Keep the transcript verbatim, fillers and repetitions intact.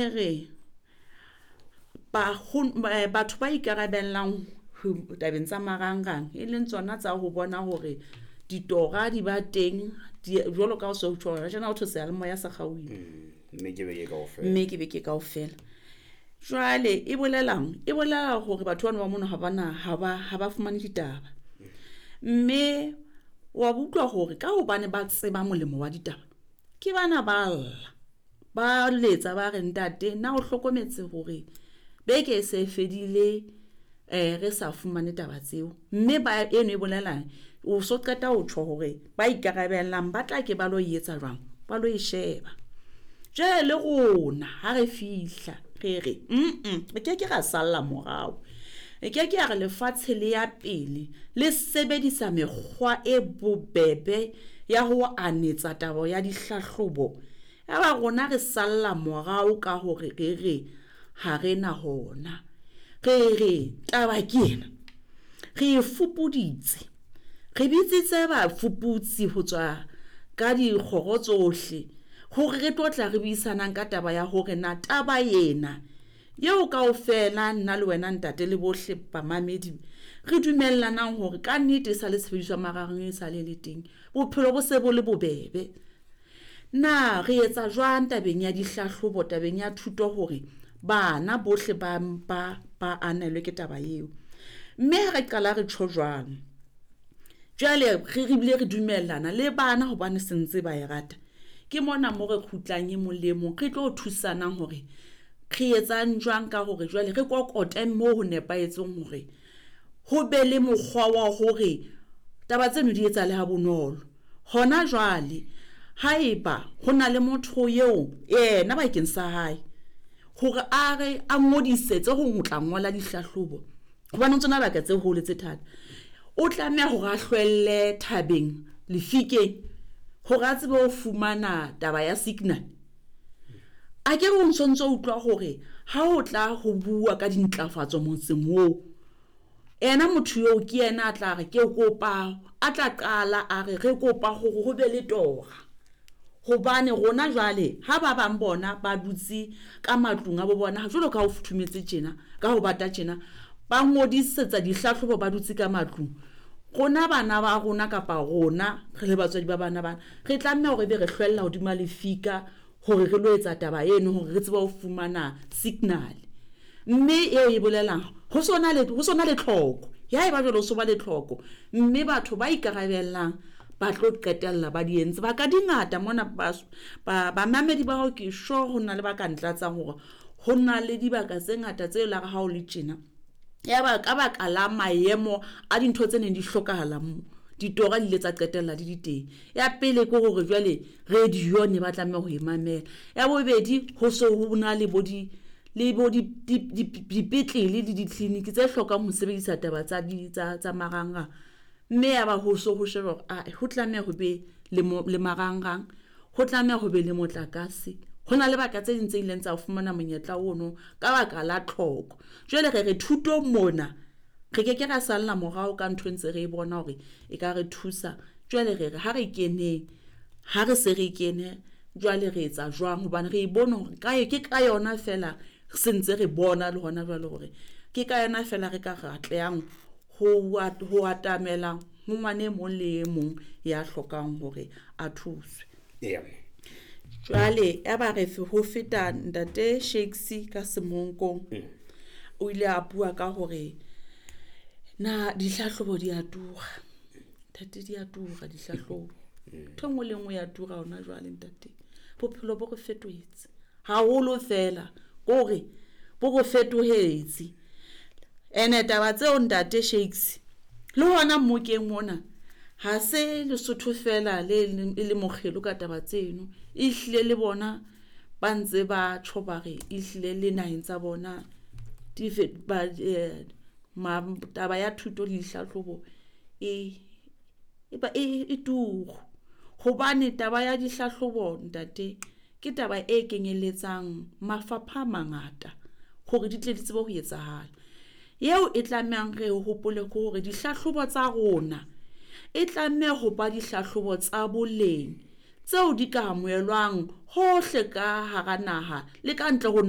Re ba batho ba ikarabellang tabeng tsa marangrang, e leng tsona tsa ho bona hore ditora di ba teng jwalo ka ho so tjho tjena ho thwe seyalemoya se kgaohile. Mme ke beke kaofela. Mme ke beke kaofela. Jwale e bolelang? E bolela hore batho bano ba mono ha bana ha ba ha ba fumane ditaba. Mme wa utlwa hore ka hobane ba tseba molemo wa ditaba, ke bana ba lla, ba letsa ba re ntate na o hlokometse hore beke e se fedile eh re sa fumane taba tseo. Mme ba eno e bolelang o so qeta ho tjho hore ba ikarabellang ba tla ke ba lo etsa jwang, ba lo e sheba. Jwale le rona ha re fihla re re mm re ke ke ra salla morao. E ke ke ya re lefatshe le ya pele le sebedisa mekgwa e bobebe ya ho anetsa taba ya dihlahlobo. Ya ba rona re salla morao ka hore re re ha re na hona. Re re taba ke ena, re e fupuditse, re bitsitse bafuputsi ho tswa ka dikgoro tsohle hore re tlo tla re buisanang ka taba ya hore na taba ena eo kaofela nna le wena ntate le bohle bamamedi re dumellanang hore ka nnete e sa le tshebediso ya marangrang e sa le le teng, bophelo bo se bo le bobebe. Na re etsa jwang tabeng ya dihlahlobo, tabeng ya thuto hore bana bohle ba ba ba anelwe ke taba eo. Mme ha re qala re tjho jwalo, jwale re re bile re dumellana le bana hobane se ntse ba e rata. Ke mona mo re kgutlang e mong le e mong re tlo thusanang hore re etsang jwang ka hore jwale re kokote mo ho nepahetseng hore ho be le mokgwa wa hore taba tseno di etsahale ha bonolo. Hona jwale haeba ho na le motho eo yena bakeng sa hae hore a re a ngodisetse ho tla ngola dihlahlobo, hobane ho tsona baka tse hole tse thata, o tlameha hore a hlwelle thabeng lefikeng hore a tsebe ho fumana taba ya signal. A ke re o ntso utlwa hore ha o tla ho bua ka dintlafatso motseng oo, ena motho eo ke yena a tla re ke kopa, a tla qala a re re kopa hore ho be le tora. Hobane rona jwale ha ba bang bona ba dutse ka matlung a bo bona jwalo ka ho futhumetse tjena, ka ho bata tjena, ba ngodisetsa dihlahlobo ba dutse ka matlung. Rona bana ba rona kapa rona re le batswadi ba bana bana, re tlameha hore ebe re hlwella hodima lefika hore re lo etsa taba eno hore re tsebe ho fumana signal. Mme eo e bolelang ho sona le ho sona le tlhoko. Ya eba jwale ho so ba le tlhoko, mme batho ba ikarabellang ba tlo qetella ba di entse. Ba ka dingata mona ba ba bamamedi ba hao ke sure ho na le ba ka ntlatsang hore ho na le dibaka tse ngata tse la re ha o le tjena. Ya ba ka baka la maemo a dintho tse neng di hlokahala mo, ditora di ile tsa qetella di di teng. Ya pele ke hore jwale radio ne ba tlameha ho e mamela. Ya bobedi ho so ho na le bo di le bo di dipetlele le di-clinic tse hlokang ho sebedisa taba tsa di tsa tsa marangrang. Mme ya ba ho so ho sheba hore ah ho tlameha ho be le mo le marangrang, ho tlameha ho be le motlakase. Ho na le baka tse ding tse ileng tsa fumana monyetla ono ka baka la tlhoko. Jwale re re thutong mona re ke ke ra salla morao ka ntho e ntse re bona hore e ka re thusa. Jwale re re ha re keneng, ha re se re kene jwale re etsa jwang hobane re e bone hore kae ke ka yona fela se ntse re bona le hona jwale hore ke ka yona fela re ka re atlehang ho ho atamela ho ngwana e mong le e mong ya hlokang hore a thuswe. Yeah. Jwale ya ba re ho feta ntate Shakes ka Semonkong, o ile a bua ka hore na dihlahlobo di a tura. Ntate di a tura dihlahlobo. Ntho e nngwe le nngwe ya tura hona jwale ntate. Bophelo bo re fetohetse haholo fela, kore bo re fetohetse. Ene taba tseo ntate Shakes le hona mmokeng mona ha se Lesotho fela le e le mokgelo ka taba tseno, ehlile le bona ba ntse ba tjho ba re ehlile le naheng tsa bona di ba eh, ma taba ya thuto le dihlahlobo e e ba e e turu. Hobane taba ya dihlahlobo ntate ke taba e kenyelletsang mafapha a mangata hore di tle di tsebe ho etsahala. Eo e tlamehang re hopole ke hore dihlahlobo tsa rona e tlameha ho ba dihlahlobo tsa boleng tseo di ka amohelwang hohle ka hara naha le ka ntle ho naha.